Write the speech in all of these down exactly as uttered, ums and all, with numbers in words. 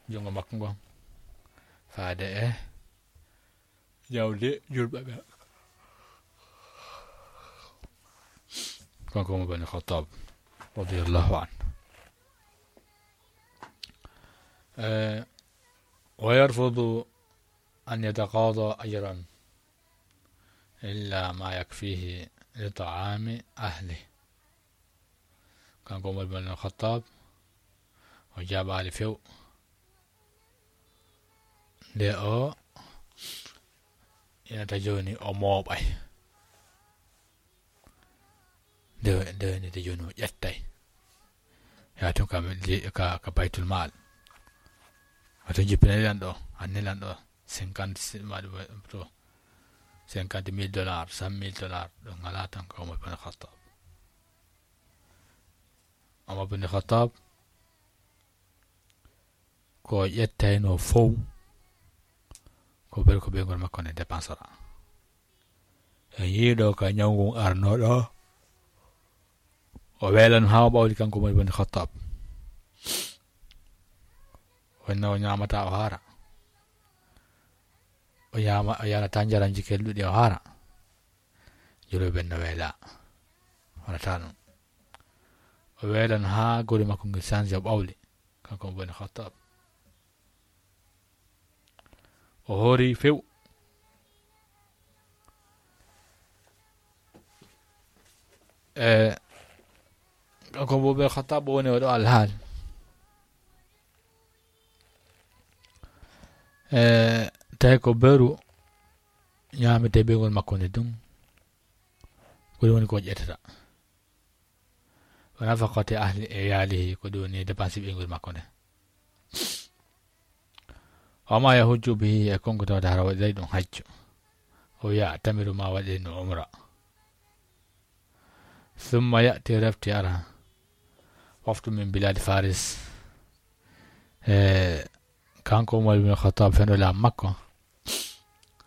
junngo makko ngon faade e jawdi julɓe ɓe. Kanko Umar bin Khattab radiyallahu anhu. Eh, ويرفض أن يتقاضى أجرا إلا ما يكفيه لطعام أهله. Kanko Umar bin Khattab, o jaɓaali few. Nde o yenata jooni, o mooɓay. Nde, nde yenata jooni, o ƴettay. Yaa tun ka, ka, ka Baytul Maal. Wato jippina lanɗo, anne lanɗo cinquante si-, ma-, to cinquante mille dollars, cent mille dollars, ɗo ngala tan ko Umar bin Khattab. Umar bin Khattab, ko ƴettayno fow, ko bel ko ɓeynguure makko nde dépensera. En yiiɗo ka ñawngu arnooɗo, o welan haa o ɓawli kanko Umar bin Khattab. Wonno o ñaamata o haara. O ñaama, o yarata njaramji kelɗuɗi o haara. Julɓe ɓen no weela. Wonata ɗum. O welan haa gori makko ngel sanji o ɓawli. Kanko Umar bin Khattab. O hoori few. E, kanko Umar bin Khattab o woni oɗo alhaali. E, tawi ko beru ñaamete ɓeynguure makko nde ɗum. Ko ɗum woni ko ƴettata. Wa nafaqati ahli iyalihi, ko ɗum woni dépense ɓeynguure makko nde. Wa ma yahujju bihi, e konko tawata hara waɗiray ɗum hajju. O ya'tamiru ma waɗiray ɗum umra. Thumma ya'ti, refti ara. Wafdu min biladi Faris. E, kanko Umar bin Khattab fendu laamu makko.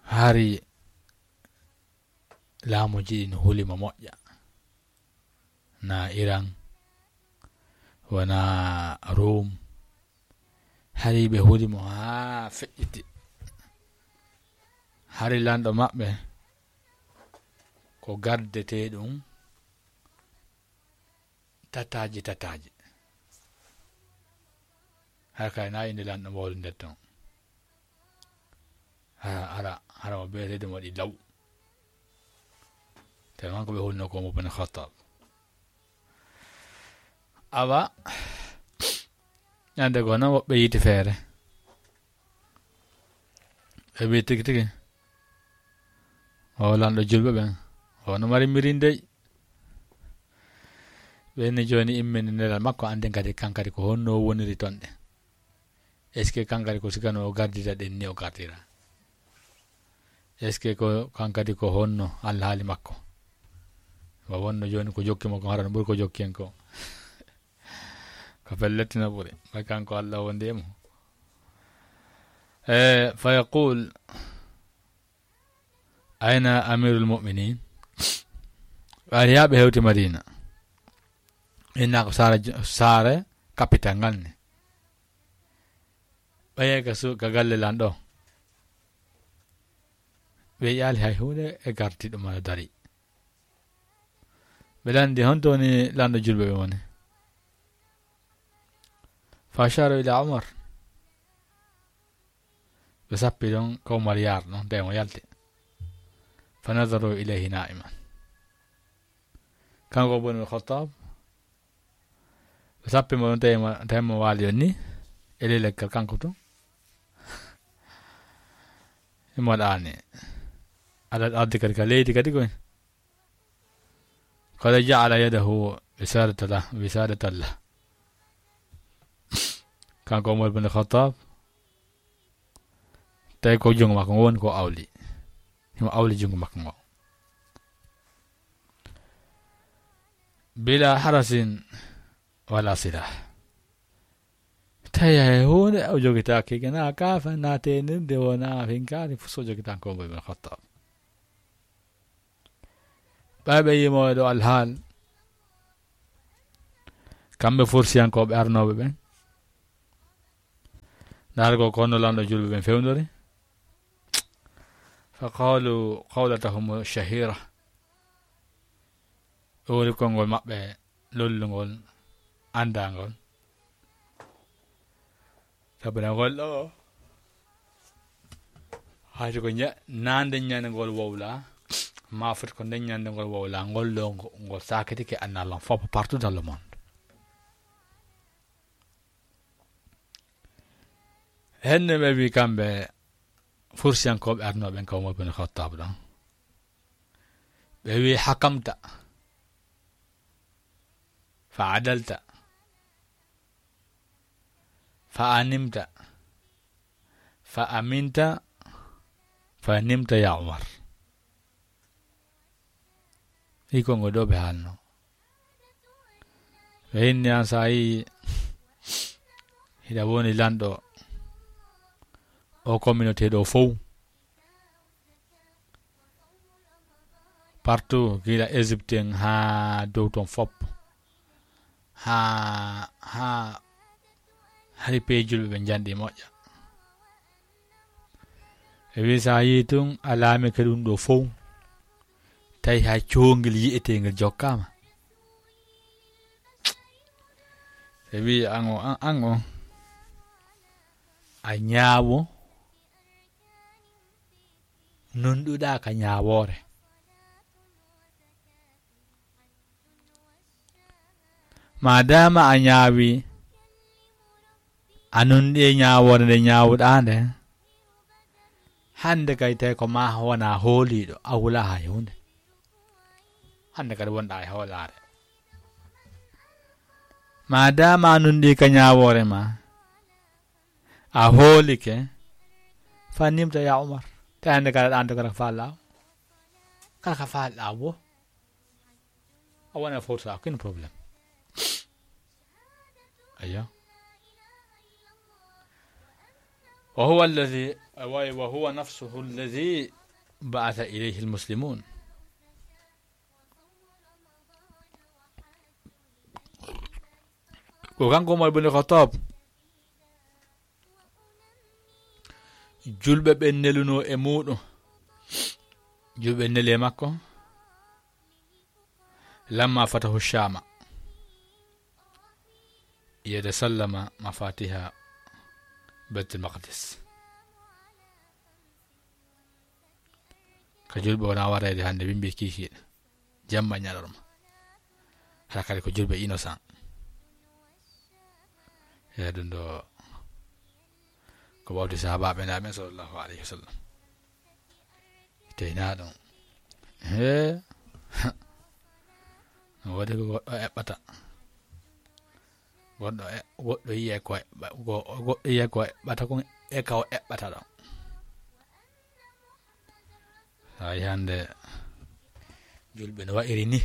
Hari laamuji ɗin huli mo moƴƴa. Na Iran, wona Rum. Hari ɓe huli mo haa feƴƴiti. Hari lanɗo maɓɓe ko gardetee ɗum tataaji tataaji. Hara kay na inde lanɗo mawɗo nder ton. Hara, hara, hara mo beeteede mo waɗi law. Tellement ko ɓe hulno ko Umar bin Khattab. Awa, ñande goo noon woɓɓe yiiti feere. Ɓe mbii tigi tigi. O lanɗo julɓe ɓen. O no mari mirindey. Ɓe ni jooni immini nelal makko, anndi kadi kankadi ko honno o woniri ton ɗe. Est-ce que kankadi ko sikano o gardita ɗen ni o gardira? Est-ce que ko kankadi ko honno alhaali makko? Wa wonno jooni ko jokki mo ko hara no ɓuri ko jokki en ko. Ko pellet no ɓuri. Ɓay kanko Allah wondi e mo. E, fa yaqul, "Ayna amirul mu'minin?" Ɓay yaa ɓe hewti Madina. Inna ko saare, saare capital ngal ni. Ɓay ka su-, ka galle lan ɗo. Ɓe ƴaali hay huunde e garti ɗum aɗa dari. Ɓe lanndi honto woni lanɗo julɓe ɓe woni. Fa ashara ila Umar. Ɓe sappi ɗon ko Umar yaar ɗon, tawi mo yalti. Fa nazaru ilayhi na'iman. Kanko Umar bin Khattab, ɓe sappi mo ɗon, tawi mo, tawi mo waali on ni, e ley leggal kanko tun. Imo ɗaani. Aɗa ardi kadi ka leydi kadi koy. Qad ja'ala yadahu wisadatan lah, wisadatan lah. Kanko Umar bin Khattab, tawi ko junngo makko ngo woni ko awli. Himo awli junngo makko ngo. Bila harasin wala silah. Tawi hay huunde o jogitaake, na kaafa, na teenirde, wona finkaari, fof so jogitan ko Umar bin Khattab. Ɓay ɓe yimo e ɗo alhaal, kamɓe forsiyankooɓe arnooɓe ɓen, Ndaargol ko honno lanɗo julɓe ɓen fewndori. Fa qaalu qawlatahum shahira. Ɓe woni konngol maɓɓe lollungol, anndangol. Sabu na ngol ɗo, hay ko ña-, na nden ñande ngol wowla, ma foti ko nden ñande ngol wowla, ngol ɗo ngo-, ngol sakitike annalan fof partout dans le monde. Henne ɓe wi kamɓe fursiyankooɓe arnooɓe en ka Umar bin Khattab ɗon. Ɓe wi hakamta, fa adalta, fa animta, fa aminta, fa nimta ya Umar. Iko ngo ɗo ɓe haalno. Ɓe inni an sa yi hiɗa woni lanɗo o communauté ɗo fow. Partout, gila Égypte en haa dow ton fop. Haa, haa, hari pee julɓe ɓe njanɗi moƴƴa. E wi sa yi tun a laamike ɗum ɗo fow. Tawi hay coongel yi'etengel jokkaama. E wi an o, an, an o, a ñaawo nunɗuɗa ka ñaawoore. Maadaama a ñaawi, a nunɗi e ñaawoore nde ñaawuɗaa nde, hannde kay tawi ko ma wona hooliiɗo, a wulaa hay huunde. Hannde kadi wonɗaa e hoolaare. Maadaama a nunɗi ka ñaawoore ma, a hoolike, fa nimta ya Umar. Tawi hannde kala ɗan to kala ko faalɗaa o. Kala ko faalɗaa wo. A wona fawta, aucun problème. Aywa. وهو الذي، وهو نفسه الذي بعث إليه المسلمون. Ko kanko Umar bin Khattab julɓe ɓen nelunoo e muuɗum. Julɓe neli e makko. لما فتحوا الشام يتسلم مفاتيح بيت المقدس. Ka julɓe wona wareede hannde wimbi kiikiiɗe. Jamma ñalorma. Hara kadi ko julɓe innocent. E ɗum ɗo ko wawde sahaabaaɓe naaɓe sallallahu alayhi wa sallam. Teyna ɗum. He. No waɗi ko goɗɗo eɓɓata. Goɗɗo e-, goɗɗo yiye ko eɓɓa-, go-, goɗɗo yiye ko eɓɓata kon e ka o eɓɓata ɗon. Hay hannde julɓe no wa'iri ni.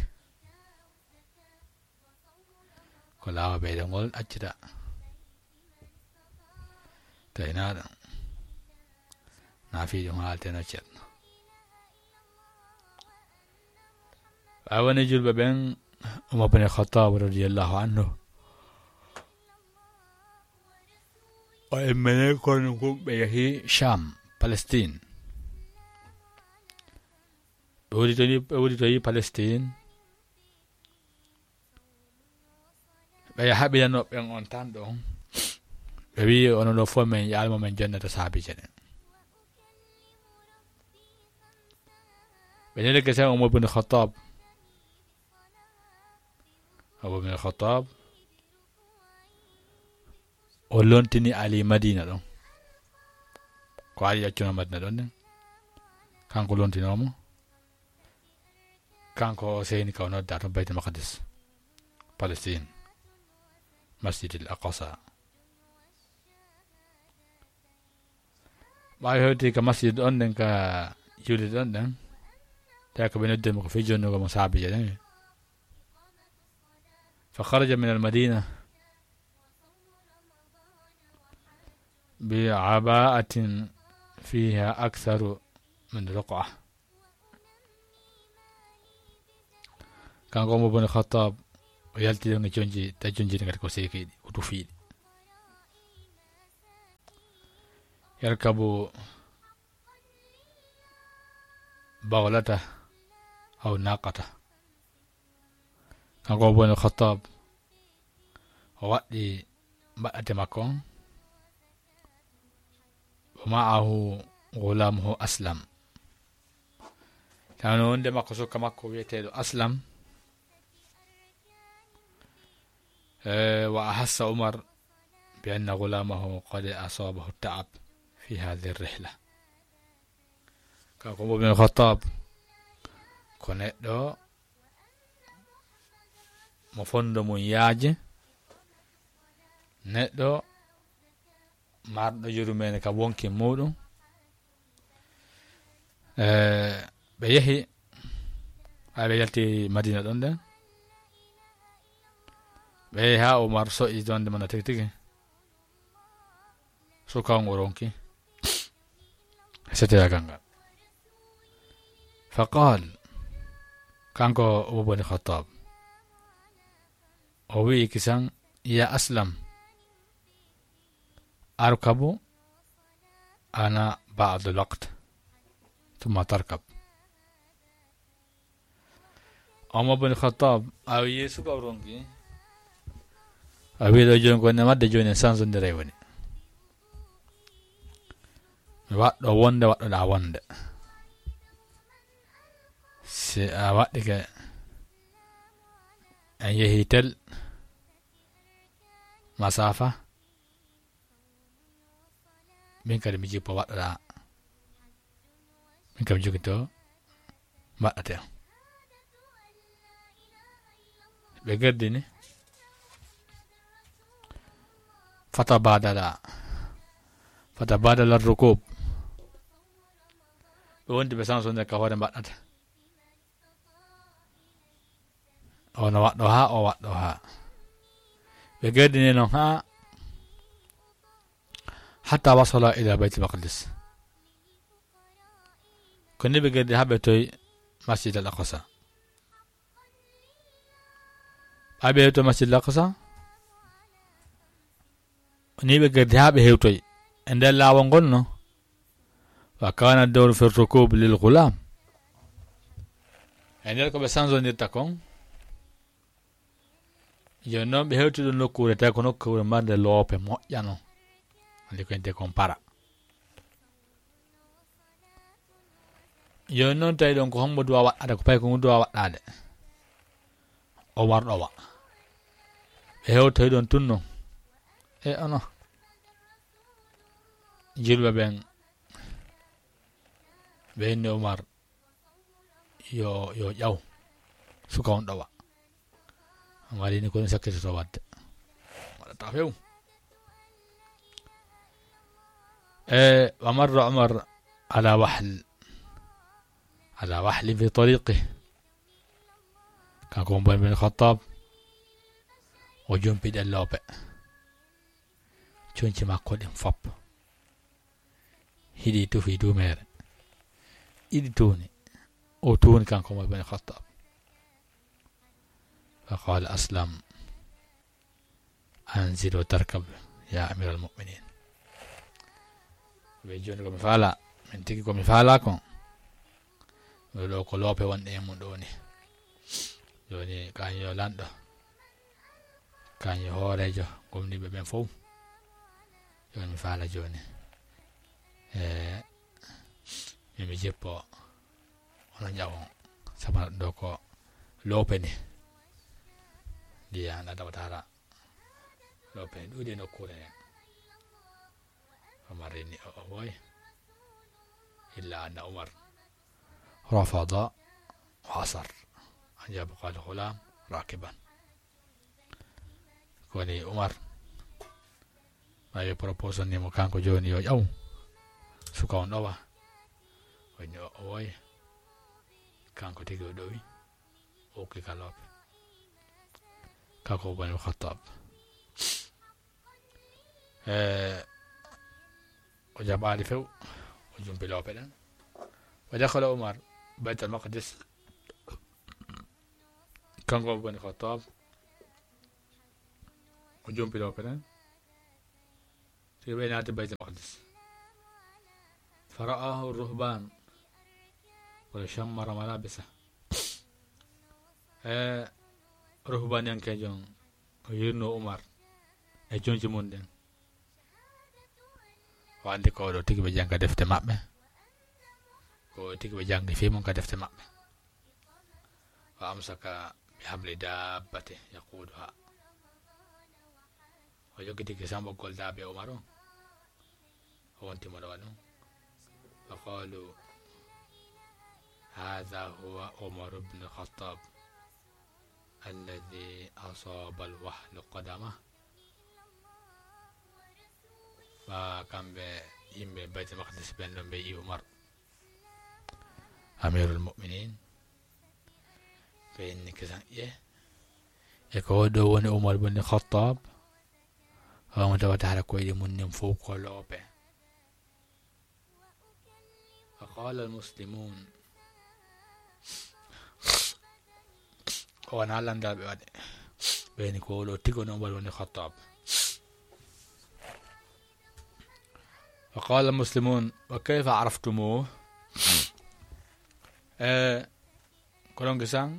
Ko laawa ɓeyde ngol accita. Tawi na ɗum. Na fii ɗum haalteno ceerno. Ɓay woni julɓe ɓen, Umar bin Khattab radiyallahu anhu. O immini kono ko ɓe yahi Sham, Palestine. Ɓe woni to ni, ɓe woni to yi Palestine. Ɓe haɓiranoo ɓen on tan ɗon. Ɓe wi'i, "Onon ɗo fof men yaalmo men jonnata saabiije ɗen." Ɓe neli kesen Umar bin Khattab. Umar bin Khattab, o lontini Ali Madina ɗon. Ko Ali accunoo Madina ɗon ɗen. Kanko lontinoomo. Kanko o seyni ka o nodda to Baytul Maqdis, Palestine, Masjidil Aqsa. Ɓaawi hewti ka masjid on ɗen, ka juulirde on ɗen, tawi ko ɓe noddi mo ko fii jonnugo mo saabiije ɗen. Fa kharaja min al madina bi aba'atin fiha aktharu min ruq'a. Kanko Umar bin Khattab, o yalti ɗon e conci, tawi conci ɗin kadi ko seekiiɗi, ko tufiiɗi. يركب بغلته أو ناقته. Kanko Umar bun Khattab, o waɗɗi mbaɗɗate makko on, ومعه غلامه أسلم. Tawi no wonde makko suka makko wiyeteeɗo Aslam. Eh, وأحس عمر بأن غلامه قد أصابه التعب في هذه الرحلة. Kanko Umar bun Khattab, ko neɗɗo mo fondo mum yaaji, neɗɗo marɗo yurmeende ka wonki muuɗum. Eh, ɓe yehi, ɓay ɓe yalti Madina ɗon ɗen. Ɓe yehi haa Umar so'i jonde mum tigi tigi. Suka on o ronki. Seteyaagal ngal. فقال, kanko Umar bun Khattab, o wi'i kisan, يا أسلم، أركب أنا بعض الوقت ثم تركب. Umar bun Khattab, a wi'i suka o ronki. A wi'i ɗo jooni ko ne wadde jooni en sansondiray woni. Mi waɗɗo wonde, waɗɗoɗaa wonde. Si a waɗɗike, en yehi tel masafa, min kadi mi jippo waɗɗoɗaa. Min kam jogito mbaɗɗate am. Ɓe gardini. فتبادلا، فتبادل الركوب. Ɓe wondi ɓe sansonde ka hoore mbaɗɗata. Ono waɗɗo haa, o waɗɗo haa. Ɓe gardini non haa حتى وصل إلى بيت المقدس. Ko ni ɓe gardi haa ɓe toy Masjid al Aqsa. Ɓay ɓe hewto Masjid al Aqsa, ni ɓe gardi haa ɓe hewtoy e nder laawol ngol no. وكان الدور في الركوب للغلام. E nder ko ɓe sansondirta kon, jooni noon ɓe hewti ɗo nokkuure, tawi ko nokkuure marnde loope moƴƴa noon. Andi ko ente kon para. Jooni noon tawi ɗon ko hombo duwa waɗɗade, ko pay ko ngu duwa waɗɗade. O warɗo wa. Ɓe hewtoy ɗon tun noon. E ono. Julɓe ɓen, ɓe inni Umar, yo, yo ƴaw suka on ɗowa. Umar ini ko ɗum sakkitoto waɗde. Waɗata few. E, ومر عمر على وحل، على وحل في طريقه. Kanko Umar bin Khattab, o jumpi ɗen loope. Conci makko ɗin fop. Hiɗi tufi duumeere. Iɗi tuuni. O tuuni kanko Umar bin Khattab. فقال أسلم: أنزل وتركب يا أمير المؤمنين. Ɓe jooni ko mi faala, min tigi ko mi faala kon. Ɗo ɗo ko loope wonɗe e mum ɗo ni. Jooni kan yo lanɗo, kan yo hooreejo gomniiɓe ɓen fow. Jooni mi faala jooni. E, min mi jippo, onon ƴawon. Sabana ɗo ko loope ni. Ndiyan Adama Tara. Loope ni ɗuuɗi e nokkuure nden. Umar inni o, o woy. إلا أن عمر رفض وأصر أن يبقى الغلام راكبا. Ko woni Umar, ɓay ɓe proposé ni mo kanko jooni yo ƴaw suka on ɗowa. O inni o, o woy. Kanko tigi o ɗowi. O ukki ka loope. Kanko Umar bin Khattab. E, o jaɓaali few, o jumpi loope ɗen. ودخل عمر بيت المقدس. Kanko Umar bin Khattab, o jumpi loope ɗen. Tigi ɓe naati Baytul Maqdis. فرآه الرهبان وشمر ملابسه. E ruhbaaniyankeejo on, o yi'irno Umar e jonji mun ɗin. O anndi ko oɗo tigi ɓe jannga defte maɓɓe. Ko oɗo tigi ɓe janngi fii mun ka defte maɓɓe. وأمسك بحبل دابته يقودها. O jokkiti kisan ɓoggol daabe Umar on. O wonti mo ɗo waɗum. فقالوا: هذا هو عمر بن الخطاب الذي أصاب الوهن قدمه. Ɓaa kamɓe yimɓe Baytul Maqdis ɓen ɗon ɓe yi'i Umar, Amirul Mu'minin, ɓe inni kisan, "Ye, e ko o ɗo woni Umar bin Khattab?" O mo tawata hara koyɗe mun nin fow ko loope. فقال المسلمون. O wona lanndaaɓe waɗe. Ɓe ni ko oɗo tigi woni Umar woni Khattab. فقال المسلمون: وكيف عرفتموه؟ E, ko ɗon kisan,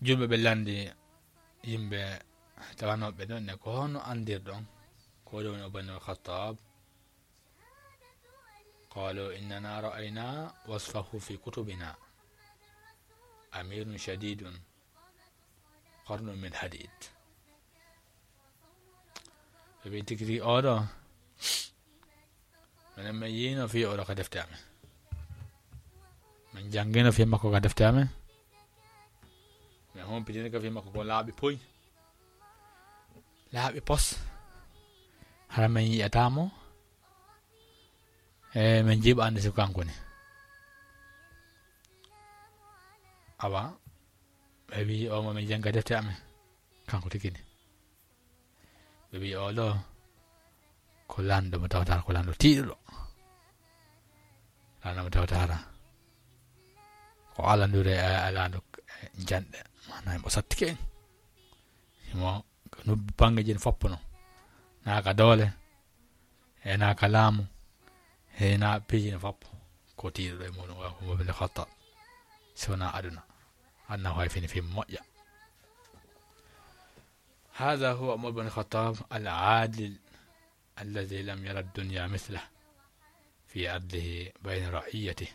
julɓe ɓe lanndi yimɓe tawanooɓe ɗon ne, ko honno anndirɗon ko oɗo woni Umar woni Khattab? قالوا: إننا رأينا وصفه في كتبنا، أمير شديد، قرن من حديد. Ɓe mbii tigi tigi oɗo, minen min yiino fii oɗo ka defte amen. Min janngino fii makko ka defte amen. Min humpitini ka fii makko ko laaɓi puy. Laaɓi pos. Hara min yi'ataa mo. E min jiɓaande si kanko ni. Awa, ɓe mbii o mo min jannga defte amen. Kanko tigi ni. Ɓe mbii o ɗo ko lanɗo mo tawata ko lanɗo tiiɗuɗo. Lanɗo mo tawata ko alandure e, e lanɗo, e, janɗe. Maanaam mo sattike en. Himo no banngeeji no foppuno. Naa ka doole, e naa ka laamu, e naa piiji no foppu. Ko tiiɗuɗo e muɗum, wa ko Umar bin Khattab. Si wonaa aduna. Aduna ko hay fini fii moƴƴa. هذا هو عمر بن الخطاب العادل الذي لم ير الدنيا مثله في عدله بين رعيته.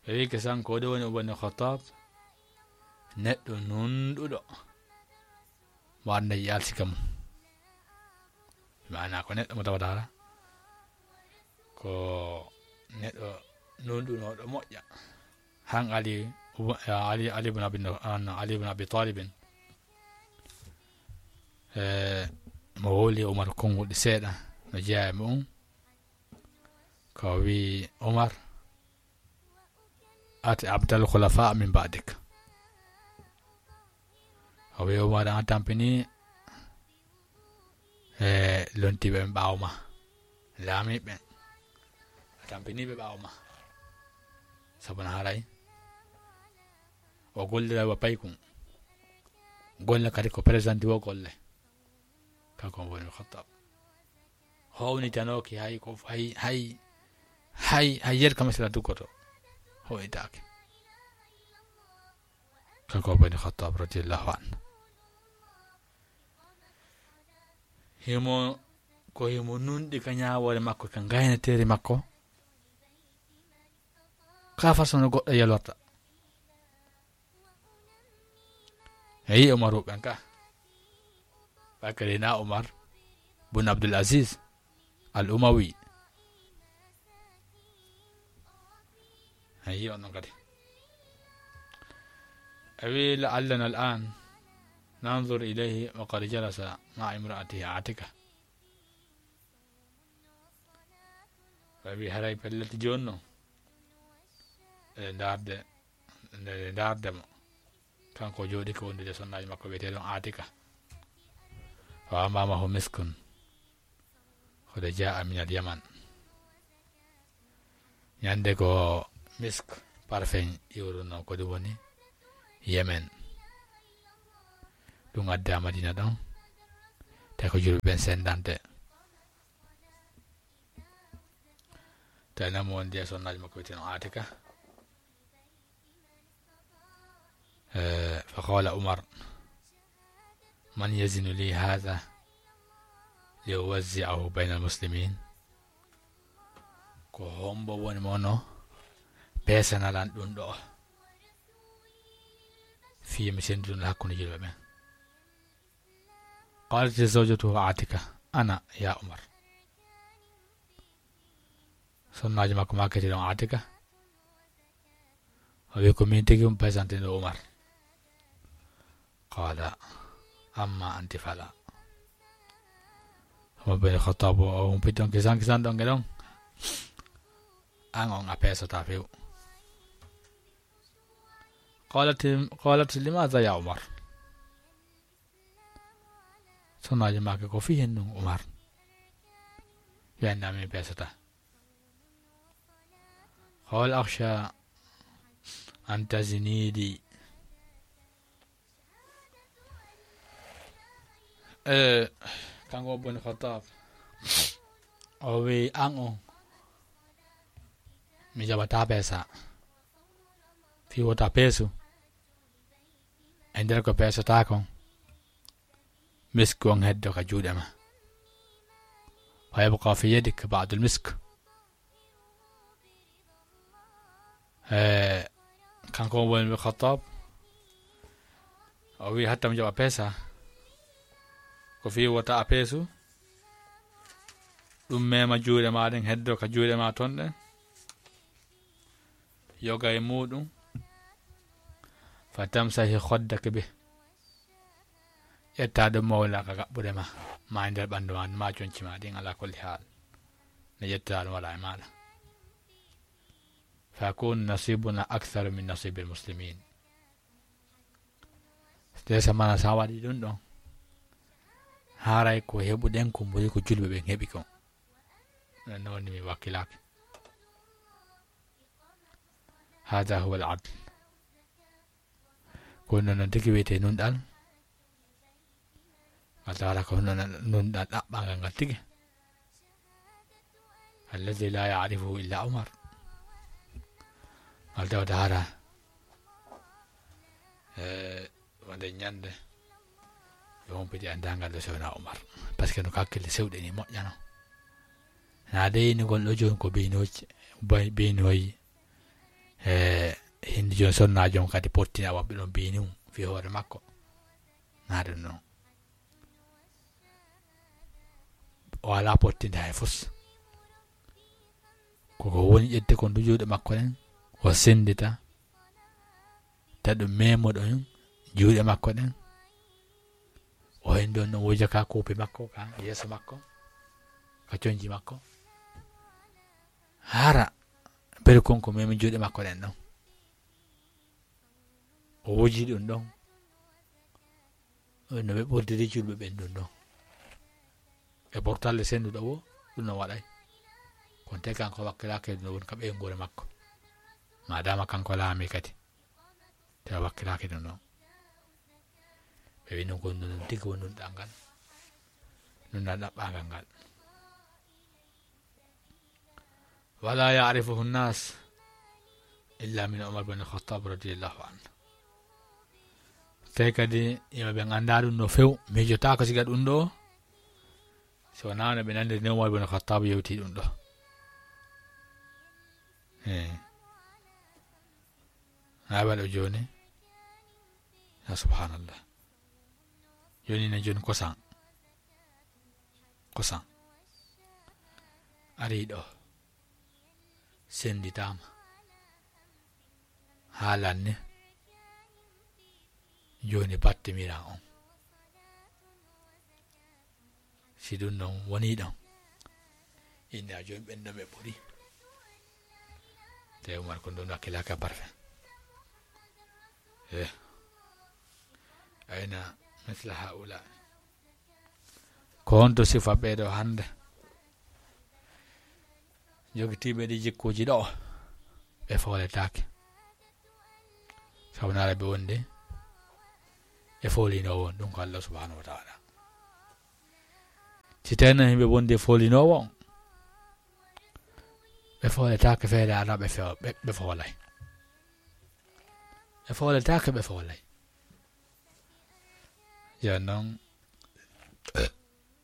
Ɓe wii kisan ko ɗo woni Umar bin Khattab, neɗɗo nunɗuɗo mo annda yalti ka mum. Maana ko neɗɗo mo tawata hara ko neɗɗo nunɗunooɗo moƴƴa. Han Ali, Ali, Ali ibn Abi, an Ali ibn Abi Talibin, e, mo wowli Umar konguɗi seeɗa no jeyaa e mu'un. Ko wii Umar, "أطع أبطال الخلفاء من بعدك." O wii Umar, an tampini e lontiiɓe ɓen ɓaawo ma. Laamiiɓe ɓen. A tampiniiɓe ɓaawo ma. Sabu na haray o gollira wa paykun. Golle kadi ko présenté wo golle. Kanko woni Khattab. Hownitanooki hay ko hay, hay, hay, hay yer ka misira duggoto. Hownitaake. Kanko woni Khattab radiyallahu anhu. Himo, ko himo nunɗi ka ñaawoore makko, ka ngaynateeri makko. Ka façon no goɗɗo yelorta. E yi'i Umaru ɓen ka. Bakari na Umar bun Abdul Aziz Al Umawi. E yi'i on non kadi. E wi لعلنا الآن ننظر إليه وقد جلس مع امرأته عاتكة. Ɓe wi haray pellet jooni non. E ndaarde, nde ndaarde mo. Kanko jooɗi ko wondude sonnaaji makko wi'etee ɗon Aatika. وأمامه مسك قد جاء من اليمن. Ñande ko misk parfum iwruno ko ɗum woni Yemen. Ɗum adda Madina ɗon. Tawi ko julɓe ɓen sendante. Tawi namo wonde e sonnaajo makko wiyeteno Atika. Eh, fa qala Umar, man yazinu li hadha li uwazzi'ahu bayna almuslimin? Ko hombo woni mono peesanalan ɗum ɗo fii mi senndunoo hakkunde julɓe ɓen? Qalat zawjatuhu Atika, ana ya Umar. Sonnaajo makko maakete ɗon Atika. O wi ko min tigi um peesante ɗo Umar. Qala, amma anti fala. Umar bin Khattab o humpiti on kisan kisan ɗon e ɗon. An on a peesata few. Qalat, qalat, limadha ya Umar? Sonnaajo maake ko fii hen ɗum Umar. Wi anna min peesata. Qala akhsha an tazinidi. Eh, kanko Umar bin Khattab. O wi an on. Mi jaɓata peesa. Fii wota peesu. E nder ko peesata kon, misk on heddo ka juuɗe ma. Fa yabqa fi yadik ba'dul misk. Eh, kanko Umar bin Khattab, o wi hatta mi jaɓa peesa. Ko fii wota a peesu. Ɗum mema juuɗe ma ɗen heddo ka juuɗe ma ton ɗen. Yoga e muɗum. Fa tamsahi khaddaki bih. Ƴetta ɗum mawla ka gaɓɓude ma. Ma e nder ɓandu ma, ma conci ma ɗin ala kulli haal. Ne ƴetta ɗum wala e maɗa. Fa yakun nasibuna aktharu min nasibil muslimin. Ndesa mana sa waɗi ɗum ɗon. Haray ko heɓuɗen ko mburi ko julɓe ɓen heɓi kon. Non woni mi wakkilaaki. Hada huwa al adl. Ko non non tigi wiyete nunɗal. Ngal tawata ko non nunɗal ɗaɓɓangal ngal tigi. Alladhi la ya'rifuhu illa Umar. Ngal tawata hara. Eh, wonde ñande. Yo humpiti anndangal ɗo sewna Umar. Parce que no kakkille sewɗe ni moƴƴano. Na de inugol ɗo jooni ko binoji, bay-, binoyi. Eh, hindi jooni sonnaajo on kadi pottina waɓɓe ɗon bini mum fi hoore makko. Na ɗum non. O alaa pottinde hay fus. Koko woni ƴette kon du juuɗe makko ɗen, o senndita, ta ɗum memoɗon juuɗe makko ɗen. O hen ɗon no wuja ka kuupi makko, ka yeeso makko, ka conji makko. Hara, bere kon ko memi juuɗe makko ɗen ɗon. O wuji ɗum ɗon. No ɓe ɓurdiri julɓe ɓen ɗum ɗon. E portalle sennduɗo wo, ɗum no waɗay. Kon te kanko wakkilaaki ɗum no woni ka ɓeynguure makko. Maadaama kanko laami kadi. Te o wakkilaaki ɗum ɗon. Ɓe wi non ko ɗum tigi woni ɗum ɗal ngal. Ɗum ɗal ɗaɓɓangal ngal. Wala ya'rifuhu nnas illa min Umar bin Khattab radiyallahu anhu. Tawi kadi yimɓe ɓen anndaa ɗum no few, miijotaako siga ɗum ɗo, so wonaa no ɓe nanndiri ni Umar bin Khattab yewti ɗum ɗo. Eh. Haa waɗo jooni. Ya subhanallah. Jooni ne jooni kosan. Kosan. Ari ɗo. Sennditaama. Haalan ni. Jooni battimiran on. Si ɗum non wonii ɗon. Inna jooni ɓen ɗon ɓe ɓuri. Te Umar ko ɗum wakkilaaka parfait. Eh. Ayna misla haula. Ko honto sifa ɓeeɗo hannde? Jogitiiɓe ɗi jikkuuji ɗo, ɓe fooletaake. Sabu naara ɓe wonde e foolinoowo on, ɗum ko Allah subhanahu wa ta'ala. Si tawii non yimɓe wonde e foolinoowo on, Ɓe fooletaake feere alaa ɓe few-, ɓe, ɓe foolay. Ɓe fooletaake ɓe foolay. Jooni noon,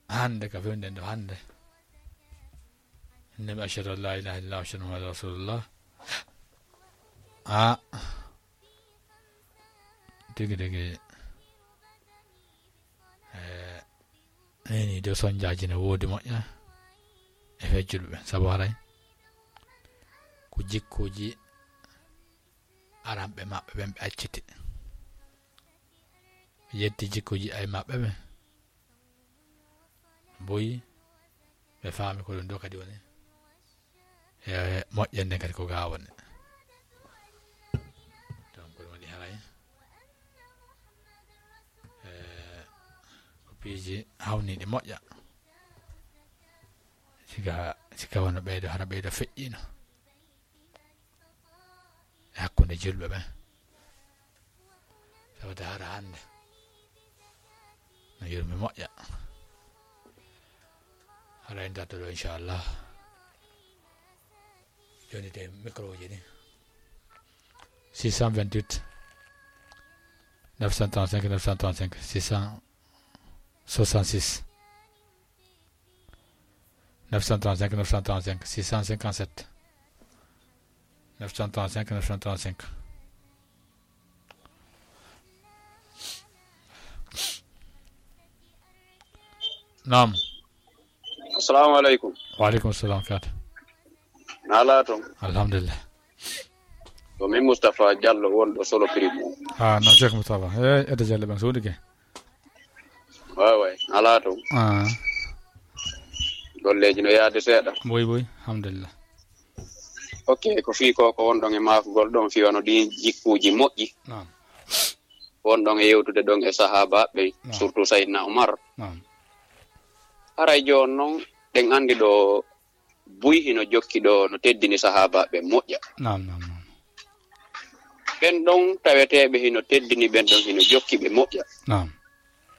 hannde ka fewnden ɗo hannde. Innde mi ashhadu an laa ilaaha illallah wa ashhadu Muhammadan rasulullah. Ah. Tigi tigi. Eh, neni de sonjaaji ne woodi moƴƴa. E feccude ɓe. Sabu haray. Ko jikkuuji aranɓe maɓɓe ɓen ɓe acciti. Yetti jikkuuji ay maɓɓe ɓen. Boyi, ɓe faami ko ɗum ɗo kadi woni. E moƴƴere nden kadi ko ga woni. Donc, ɗum waɗi haray. E, ko piiji hawniiɗi moƴƴa. Siga, siga wano ɓeydo, hara ɓeydo feƴƴiino. E hakkunde julɓe ɓen. Tawde hara hannde no yurmi moƴƴa. Hara en darto ɗo, inchallah. Joni de micro ji ɗi. Six cent vingt-huit, neuf cent trente-cinq, neuf cent trente-cinq, six cent soixante-six. Neuf cent trente-cinq, neuf cent trente-cinq, six cent cinquante-sept. Neuf cent trente-cinq, neuf cent trente-cinq. Naam. Assalamu alaikum. Wa alaikum salam, Kate. Na ala toon? Alhamdulillah. Ko min Moustapha Diallo, wonɗo Solo Primo. Ah, no, Cheikh Moustapha. Eh, Edda Diallo ɓen soodi ke. Waaway, alaa toon. Ah. Golleeji no yaade seeɗa. Boy, boy, alhamdulillah. Ok, ko fii ko, ko wonɗon e maakugol ɗon, fii wano ɗin jikkuuji moƴƴi. Naam. Wonɗon e yewtude ɗon e sahaabaaɓe, naam, surtout Sayyidina Umar. Naam. Haray jooni noon, ɗen anndi ɗo buy hino jokki ɗo no teddini sahaabaaɓe moƴƴa. Naam, naam, naam. Ɓen ɗon taweteeɓe hino teddini, ɓen ɗon hino jokki ɓe moƴƴa. Naam.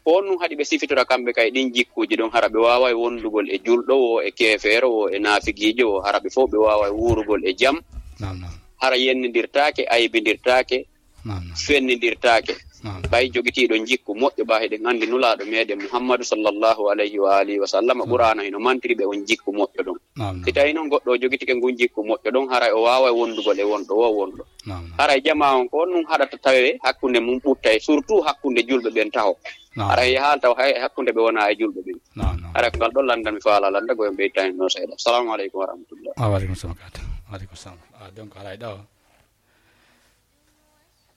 Ko on ɗum haɗi ɓe sifitora kamɓe kay ɗin jikkuuji ɗon, hara ɓe waaway wondugol e julɗo woo, e keefeero woo, e naafigiijo woo, hara ɓe fow ɓe waaway wuurugol e jam. Naam, naam. Hara yennindirtaake, aybindirtaake, naam, naam, fennindirtaake. Naam. Ɓay jogitiiɗo jikku moƴƴo, ɓay hiɗen anndi Nulaaɗo meɗen Muhammadu sallallahu alayhi wa alihi wa sallam, naam, Qur'aana hino mantiri ɓe on jikku moƴƴo ɗon. Naam, naam. Si tawii noon goɗɗo o jogitike ngun jikku moƴƴo ɗon, haray o waaway wondugol e wonɗo woo wonɗo. Naam, naam. Haray jamaa on, ko on ɗum haɗata tawee hakkunde mum ɓuttay, surtout hakkunde julɓe ɓen taho. Naam. Haray yahaali taw hay hakkunde ɓe wonaa e julɓe ɓen. Naam, naam. Haray ko ngal ɗon lanndal mi faalaa lannda, ko en ɓeytani noon seeɗa. Salaamu aleykum wa rahmatullah. Wa aleykum salam, Kate. Wa aleykum salam. Ah, donc, haray ɗo,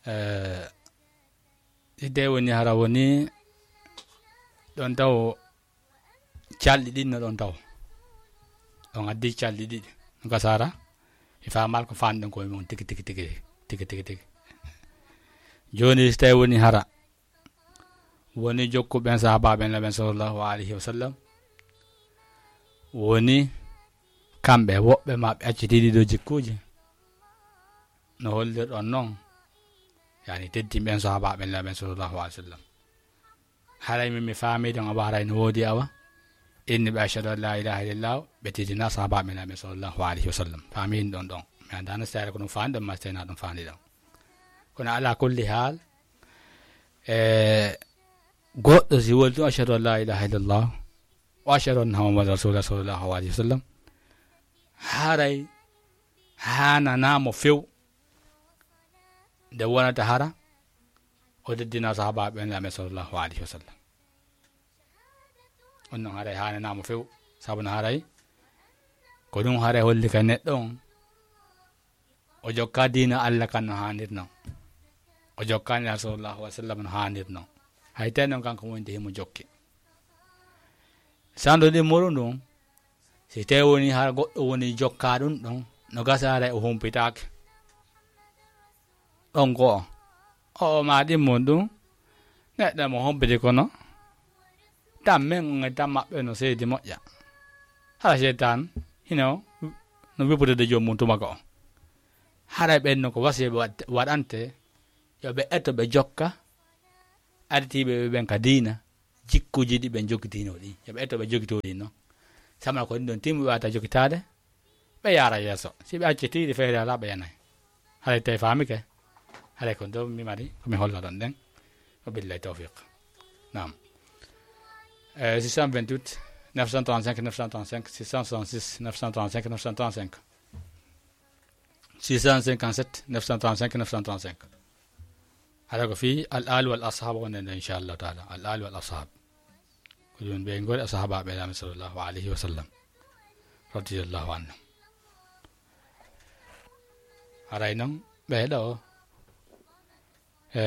eh, idde woni hara woni ɗon taw calɗi ɗin no ɗon taw. On addi calɗi ɗiɗi. Ɗum ka sara, mi faamaali ko faanɗen ko e mum tigi, tigi, tigi, tigi, tigi, tigi. Jooni, so tawi woni hara, woni jokkuɓen sahaabaaɓe Nulaaɓe sallallahu alayhi wa sallam, woni kamɓe woɓɓe maɓɓe acciti ɗiɗo jikkuuji. No hollirɗon noon, yani teddinɓe ɓen sahaabaaɓe Nulaaɓe sallallahu alayhi wa sallam. Haray min mi faamii ɗon, awa haray no woodi awa. Inni ɓe ashhadu an laa ilaaha illallah, ɓe teddina sahaabaaɓe Nulaaɓe sallallahu alayhi wa sallam. Faamii ɗon ɗon. Mi anndaa no seeɗa ko ɗum faani ɗon, ma seena ɗum faani ɗon. Kono alaa kulli haal, e goɗɗo si woli tun ashhadu an laa ilaaha illallah, wa ashhadu anna Muhammadan rasulullah sallallahu alayhi wa sallam, haray haananaa mo few nde wonata hara o teddina sahaabaaɓe ɓen Nulaaɓe sallallahu alayhi wa sallam. On non haray haananaa mo few, sabu no haray ko ɗum haray holli ka neɗɗo on, o jokka diina Alla kan no haanir non, o jokka Nulaaɗo sallallahu alayhi wa sallam no haanir non. Hay tawi non kanko woni de himo jokki. Sando ɗin muru ndun, si tawi woni hara goɗɗo woni jokka ɗum ɗon, no gasa haray o humpitaake. Ɗon ko o, o ma ɗin mun ɗum, neɗɗo mo humpiti kono, tammen on e tammaɓɓe no seydi moƴƴa. Hara seytan hino no wipude de joom mum tuma ko. Haray ɓen no ko wasiya ɓe waɗ-, waɗante, yo ɓe eto ɓe jokka, aditiiɓe ɓe ɓen ka diina, jikkuuji ɗi ɓen jogitiino ɗin. Yo ɓe eto ɓe jogitoo ɗin non. Samana ko ɗin ɗon timmi wata jogitaade, ɓe yaara yeeso. Si ɓe acci tiiɗi feere alaa, ɓe yanay. Haray tawi faami ke? Haray ko ɗum mi mari, ko mi holla ɗon ɗen. Wa billahi tawfiq. Naam. Eh, six cent vingt-huit, neuf cent trente-cinq, neuf cent trente-cinq, six cent soixante-six, neuf cent trente-cinq, neuf cent trente-cinq. Six cent cinquante-sept, neuf cent trente-cinq, neuf cent trente-cinq. Haray ko fii al-aali wal ashab wonde nde, inchallahu taala. Al-aali wal ashab. Ko ɗum ɓe ngoni ashaabaaɓe Laamɗo sallallahu alayhi wa sallam. Radiyallahu anhu. Haray non, ɓee ɗoo, e,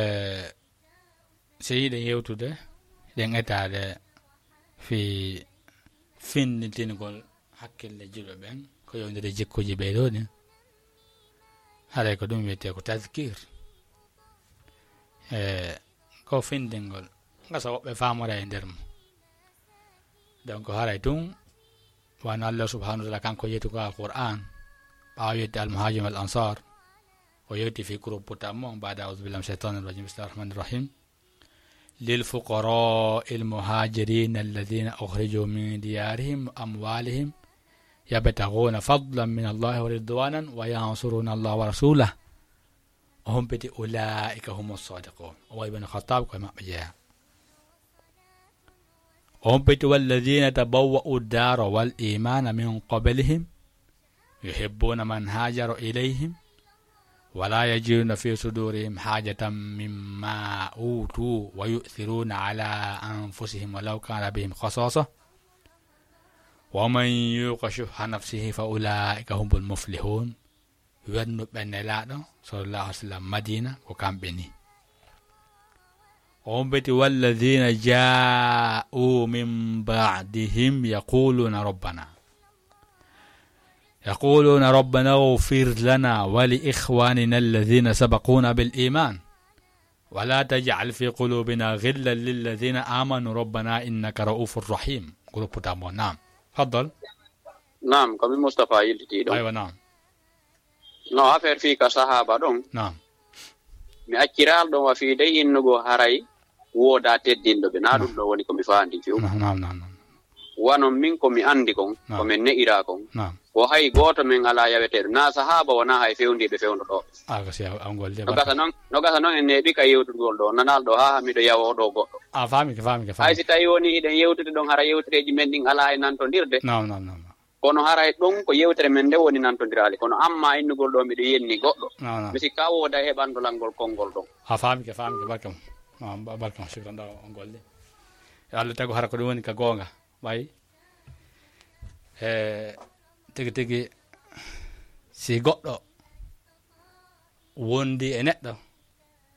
si yiɗen yewtude, ɗen etaade fii finnitingol hakkille julɓe ɓen, ko yowndiri jikkuuji ɓee ɗoo ɗin. Haray ko ɗum wiyetee ko tazkir. E, ko findingol. Ngasa woɓɓe faamora e nder mum. Donc, haray tun, wano Allah subhanahu wa ta'ala kanko yetti ko Alquran, ɓaawo yetti al-muhajir wal ansar, o yetti fi groupe tammo, ba'da a'udhu billahi minash shaitanir rajim, bismillahir rahmanir rahim. للفقراء المهاجرين الذين أخرجوا من ديارهم وأموالهم يبتغون فضلا من الله ورضوانا وينصرون الله ورسوله. O humpiti, أولئك هم الصادقون. O wayi Ibn Khattab ko e maɓɓe jeyaa. O humpiti, والذين تبوأوا الدار والإيمان من قبلهم يحبون من هاجر إليهم ولا يجدون في صدورهم حاجة مما أوتوا ويؤثرون على أنفسهم ولو كان بهم خصاصة ومن يوق شح نفسه فأولئك هم المفلحون. Wernuɓe Nelaaɗo sallallahu alayhi wa sallam Madina ko kamɓe ni. O humpiti, والذين جاءوا من بعدهم يقولون ربنا، يقولون ربنا اغفر لنا ولإخواننا الذين سبقونا بالإيمان ولا تجعل في قلوبنا غلا للذين آمنوا ربنا إنك رؤوف رحيم. Groupe tammo, naam. Faddal. Naam, ko mi Mustapha yiltitii ɗon. Aywa, naam. No affaire fii ka sahaaba ɗon. Naam. Mi acciraal ɗon wa fii dey innugo haray woodaa teddinɗo ɓe. Naa ɗum ɗo woni ko mi faandi few. Naam, naam, naam, naam. Wano min ko mi anndi kon, naam, ko min ne'iraa kon. Naam. Ko hay gooto men alaa yaweteeɗo. Naa sahaaba wonaa hay fewndiiɓe fewndo ɗo. Ah, ko si a, a ngol de no gasa barka. Non, no gasa non en neeɓi ka yewtugol ɗo. Nanal ɗo haa miɗo yawoo ɗo goɗɗo. A faami ke, faami ke, faami. Hay si tawi woni hiɗen yewtude ɗon, hara yewtereeji men ɗin alaa e nantondirde. Naam, naam, naam, naam. Kono haray ɗon ko yewtere men nde woni nantondiraali. Kono amma innugol ɗo miɗo yenni goɗɗo. Naam, naam. Mi sikka wooda heɓandolan ngol konngol ɗon. A faami ke, faami ke, barka mo. Naam, ba-, barka mo, shukran ɗo on golle. Yo Allah tagu hara ko ɗum woni ka goonga. Ɓay. E, tigi tigi, si goɗɗo wondi e neɗɗo,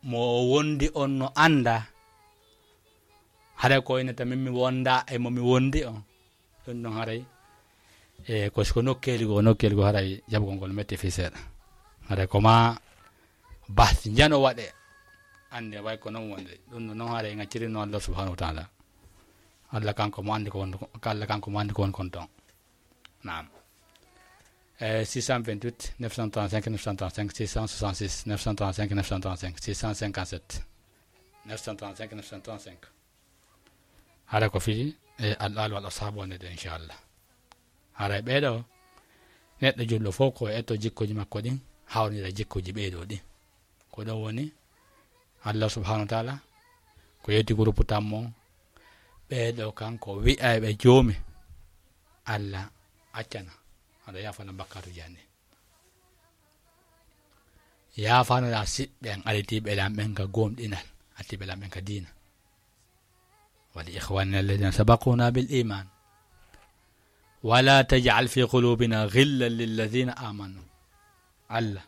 mo o wondi on no annda, haray ko ina ta min mi wonda e mo mi wondi on. Ɗum ɗon haray, e, ko, ko nokkeeli goo, nokkeeli goo haray jaɓugol ngol metti fii seeɗa. Haray ko ma bahsi njano waɗe, annde way ko non wonde. Ɗum ɗon non haray ngaccirino Allah subhanahu wa ta'ala. Allah kanko mo anndi ko won, Allah kanko mo anndi ko won kon ton. Naam. Eh, six cent vingt-huit, neuf cent trente-cinq, neuf cent trente-cinq, six cent soixante-six, neuf cent trente-cinq, neuf cent trente-cinq, six cent cinquante-sept, neuf cent trente-cinq, neuf cent trente-cinq. Hara ko fii, eh, al-aali wal ashaabu wonde de, inchallah. Haray ɓee ɗoo, neɗɗo julɗo fof ko etto jikkuuji makko ɗin, hawnira jikkuuji ɓee ɗoo ɗin. Ko ɗum woni Allah subhanahu wa ta'ala, ko yetti groupe tammo, ɓee ɗoo kanko wi'ayɓe joomi, Allah accana, aɗa yaafana bakkaatuuji an ɗin. Yaafanoɗaa siɓɓe an, aritiiɓe lan ɓen ka gomɗinal, aritiiɓe lan ɓen ka diina. ولإخواننا الذين سبقونا بالإيمان ولا تجعل في قلوبنا غلا للذين آمنوا. Allah,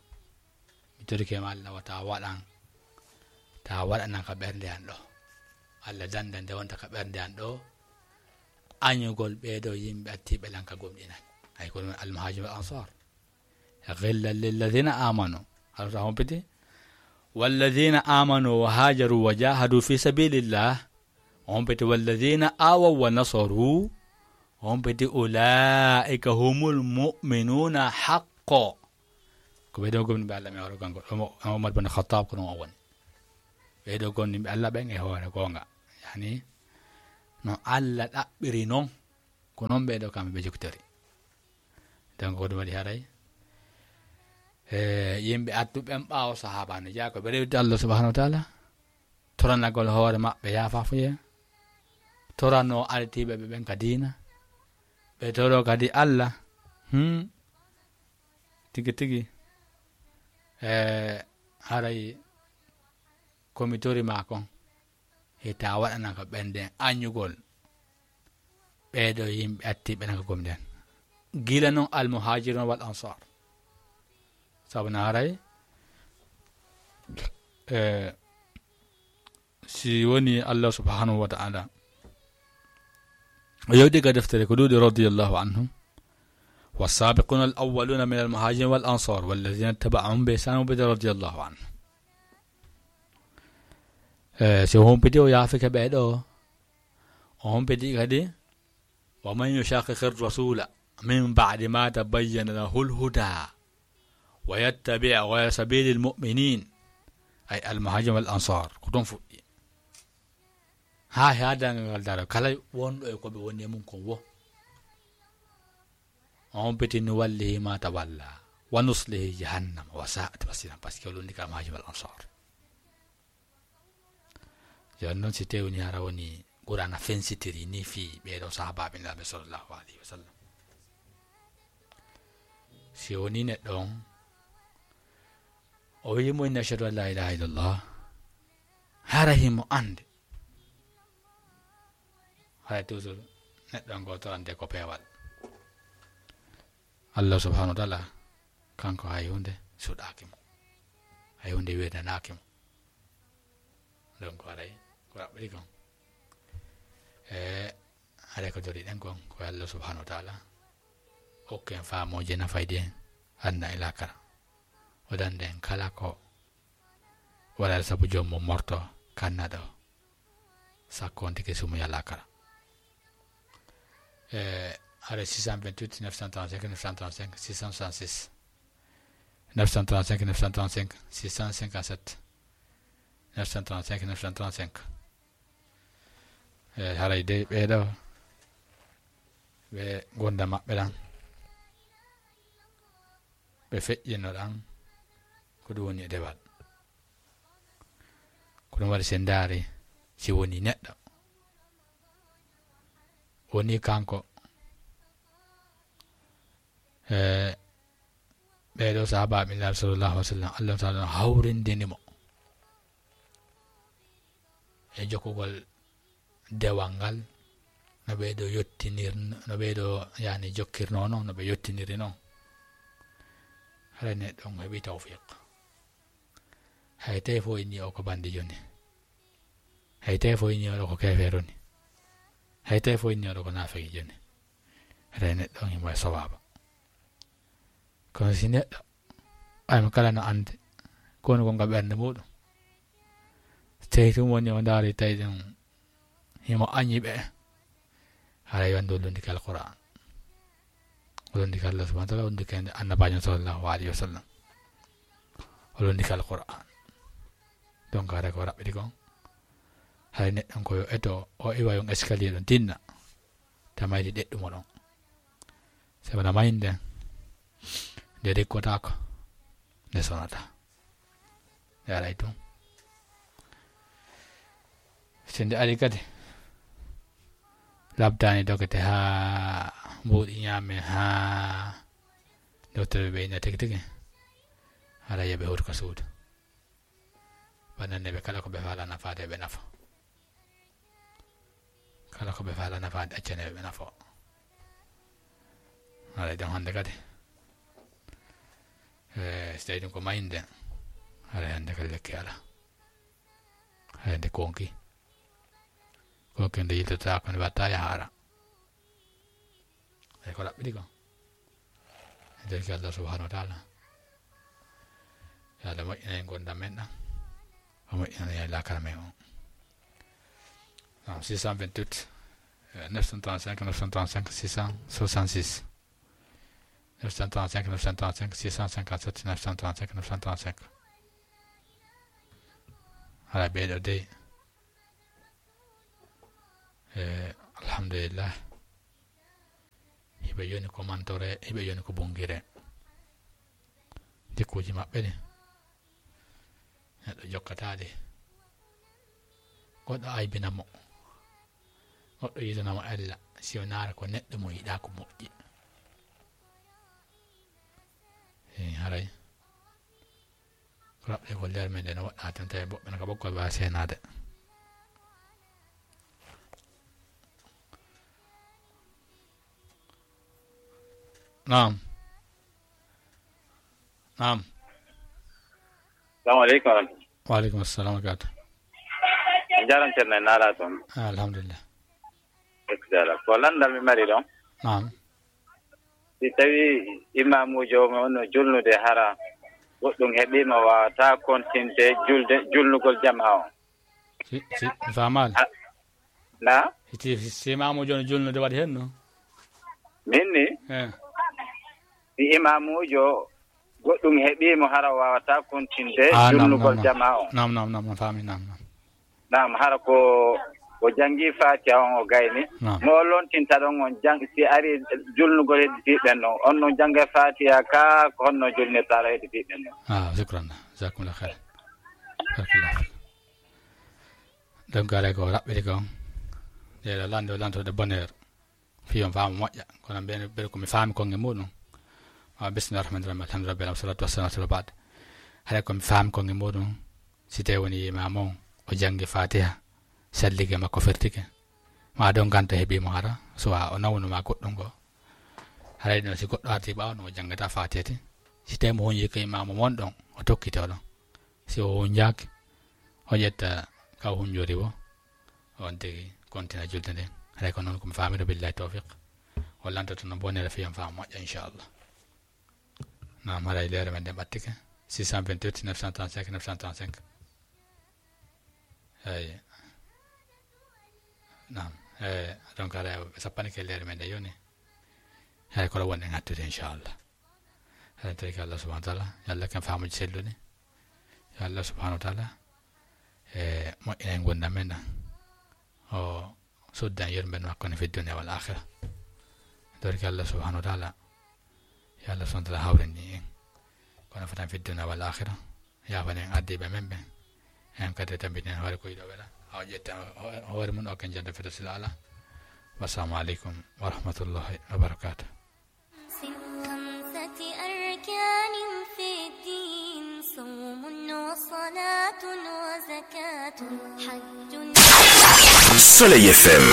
mi torike ma Allah, wata waɗan, ta waɗanan ka ɓernde an ɗo. Allah, danda nde wonta ka ɓernde an ɗo, añugol ɓee ɗoo yimɓe artiiɓe lan ka gomɗinal. Ay ko ɗum al-muhaajir wal ansaar. غلا للذين آمنوا. Allah ta humpiti, والذين آمنوا وهاجروا وجاهدوا في سبيل الله. O humpiti, والذين آووا ونصروا. O humpiti, أولئك هم المؤمنون حقا. Ko ɓee ɗoo gomɗinɓe Allah mi hoore kanko. Omo-, Omar bin Khattab ko ɗum o woni. Ɓee ɗoo gomɗinɓe Allah ɓen e hoore goonga. Yani, no Allah ɗaɓɓiri non, ko non ɓee ɗoo kamɓe ɓe jokkitori. Donc ko ɗum waɗi haray, e, yimɓe artuɓe ɓen ɓaawo sahaaba no jeyaa ko ɓe rewti Allah subhanahu wa taala, toranagol hoore maɓɓe yaafaafuye, toranoo ardiiɓe ɓe ɓen ka diina, ɓe toroo kadi Allah, hmm, tigi tigi, e, haray ko mi tori maa kon, hita waɗana ka ɓen ɗen añugol ɓee ɗoo yimɓe attii ɓe naka gomɗen. Gila non al muhajirun wal ansar. Sabu na haray, e, si woni Allah subhanahu wa ta'ala o yewdi ka deftere ko ɗuuɗi radiyallahu anhum. والسابقون الأولون من المهاجرين والأنصار والذين اتبعوهم بإحسان رضي الله عنهم. E, si o humpiti o yaafike ɓee ɗoo, o humpiti kadi, ومن يشاقق الرسول من بعد ما تبين له الهدى ويتبع غير سبيل المؤمنين، أي المهاجرين والأنصار، ko ɗon fuɗɗi. Haa, haa darngal ngal daro, kala wonɗo e ko ɓe woni e mum kon wo, o humpiti, نوله ما تولى ونصله جهنم وساءت مصيرا, parce que o lundi ka muhajir wal ansar. Jooni non, si tewni hara woni Qur'aana fensitiri ni fii ɓee ɗoo sahaabaaɓe Nulaaɓe sallallahu alayhi wa sallam. Si woni neɗɗo on, o wi'i mo, "Inni ashhadu an laa ilaaha illallah," hara himo annde. Hay toujours neɗɗo on gooto annde ko peewal. Allah subhanahu wa ta'ala, kanko hay huunde suɗaaki mo. Hay huunde wirnanaaki mo. Donc, haray ko raɓɓiɗi kon. E, haray ko doriɗen kon, ko Allah subhanahu wa ta'ala hokken faamooje nafayɗe en aduna e laakara. O dande en kala ko waɗata sabu joom mum morto kannaɗo, sakko on tigi sumuya laakara. E, haray six cent vingt-huit neuf cent trente-cinq neuf cent trente-cinq six cent soixante-six. Neuf cent trente-cinq neuf cent trente-cinq six cent cinquante-sept. Neuf cent trente-cinq neuf cent trente-cinq. E, haray dey ɓee ɗoo, ɓe ngurndan maɓɓe ɗan, ɓe feƴƴinno ɗan, ko ɗum woni e dewal. Ko ɗum waɗi, si en ndaari, si woni neɗɗo, woni kanko, e, ɓee ɗoo sahaabaaɓe Nulaaɓe sallallahu alayhi wa sallam, Allah ta'ala no hawrindini mo e jokkugol dewal ngal, no ɓee ɗoo yottinir-, no ɓee ɗoo, yani, jokkirnoo non, no ɓe yottiniri non. Haray neɗɗo on heɓi tawfiq. Hay tawi fof inni o ko bandijo ni. Hay tawi fof inni o ko keefeero ni. Hay tawi fof inni o ko naafeqijo ni. Haray neɗɗo on himo e sawaaba. Kono si neɗɗo, ay mo kala no annde, ko woni ko nga ɓernde muɗum. So tawi ɗum woni o ndaari tawi ɗum himo añi ɓe, haray wonde o lundike Alqur'aan. O lundike Allah subhanahu wa ta'ala, o lundike Annabaajo sallallahu alayhi wa sallam. O lundike Alqur'aan. Donc, haray ko raɓɓiɗi kon, haray neɗɗo on ko yo eto, o iwa yon escalier ɗon tinna. Tamayde ɗeɗɗumo ɗon. Sabu na mayde nden, nde rikkotaako, nde sonataa. Nde aray tun. Si nde ari kadi, labtaani dokete haa mbuuɗi ñaame, haa docteur ɓe ɓe inna tigi tigi, haray yo ɓe huutu ka suudu. Wannanne ɓe kala ko ɓe faalaa nafaade, ɓe nafa. Kala ko ɓe faalaa nafaade, accane ɓe, ɓe nafo. Haray ɗon hannde kadi, e, so tawi ɗum ko mayde, haray hannde kadi lekki alaa. Haray nde konki. Konki nde yiltotaako, nde watta yahaara. Ey, ko raɓɓiɗi kon. En njarki Allah subhanahu wa ta'ala. Yo Allah moƴƴinan en ngurndan men ɗan. O moƴƴinan en laakara men on. Naam, six cent vingt-huit, euh, neuf cent trente-cinq, neuf cent trente-cinq, six cent soixante-six. Neuf cent trente-cinq, neuf cent trente-cinq, six cent cinquante-sept, neuf cent trente-cinq, neuf cent trente-cinq. Haray ɓee ɗoo dey. Eh, alhamdulillah. Hiɓe yoni ko mantore, hiɓe yoni ko bungire. Jikkuuji maɓɓe ɗi, neɗɗo jokkataade. Goɗɗo aybina mo, goɗɗo yidana mo ella, si o naara ko neɗɗo mo yiɗaa ko moƴƴi. Eey, haray ko raɓɓe ko leer men nde no waɗɗaa tan, tawi woɓɓe no ka ɓoggol waawi seenaade. Naam. Naam. Salamu aleykum wa rahmatullahi. Wa aleykum assalam wa rahmatullahi. A jaaraama, Ceerno, en naalaa toon. Ah, alhamdulillah. Ko lanndal mi mari ɗoon. Naam. Si tawii imaamuujo mo no julnude, hara goɗɗum heɓii mo, waawataa kontinde julde, julnugol jamaa on. Si, si, mi faamaali. Ah, na? Si, si, si imaamuujo no julnude waɗi heen no? Min ni? Eh. Si imaamuujo goɗɗum heɓii mo, hara waawataa kontinde Ah, naam, julnugol naam, naam. jamaa on. Naam, naam, naam, mi faami, naam, naam. Naam, hara ko o janngi Faatiha on, o gayni. Naam. Mo o lontinta ɗon on jang-, si ari julnugol hedditiiɓe ɓen ɗon, on non jannga Faatiha ka, ko honno julnirta ara hedditiiɓe ɓen ɗon? Ah, shukran. Jazakumullah khair. Barakallah fik. Donc, haray ko raɓɓiɗi kon. Nde ɗo lanndo, lanndo de bonheur. Fii on faamu moƴƴa. Kono mbele, mbele ko mi faami kon e muɗum. Wa bismillahir rahmanir rahim. Alhamdulillahi rabbil alamin. Wassalatu wassalamu ala rasulillah ba'd. Haray ko mi faami kon e muɗum. Si tawi woni imaamu on, o janngi Faatiha, sallige makko fertike. Ma ɗon ngannta heɓii mo hara, so wa o nawnu ma goɗɗum ko. Haray ɗum si goɗɗo arti ɓaawo no o janngata Faatiha ti. Si tawi mo huñi ko imaamu mon ɗon, o tokkito ɗon. Si o huñaaki, o ƴetta ka o huñori wo. On tigi kontina julde nden. Haray ko noon ko mi faamiri, billahi tawfiq. O lantoto no bonere fii on faamu moƴƴa, inchallah. Naam, haray leere men nden ɓattike. Six cent vingt-huit, neuf cent trente-cinq, neuf cent trente-cinq. Eey. Naam. Eh, donc, haray ɓe sappanike leere men nden yoni. Haray ko ɗo wonɗen hattude, inchallah. Haray en torike Allah subhanahu wa taala. Yo Allah hokku en faamuuji selluɗi. Yo Allah subhanahu wa taala, eh, moƴƴina en ngurndan men ɗan. O sudda en yurmeendi makko ne fi dunya wal akhirah. Torike Allah subhanahu wa taala, yo Allah subhanahu wa taala hawrindin en. Kono fatan fi dunya wal akhirah, yaafana en ardiiɓe men ɓen. En kadi tambiten hoore ko yiɗo wela. Haa o ƴetta ho-, hoore mum o kan jannde Firdawsil Aala. Wassalamu aleykum wa rahmatullahi wa barakatuh. خمسة أركان في الدين، صوم وصلاة وزكاة، حج. Soleil F M.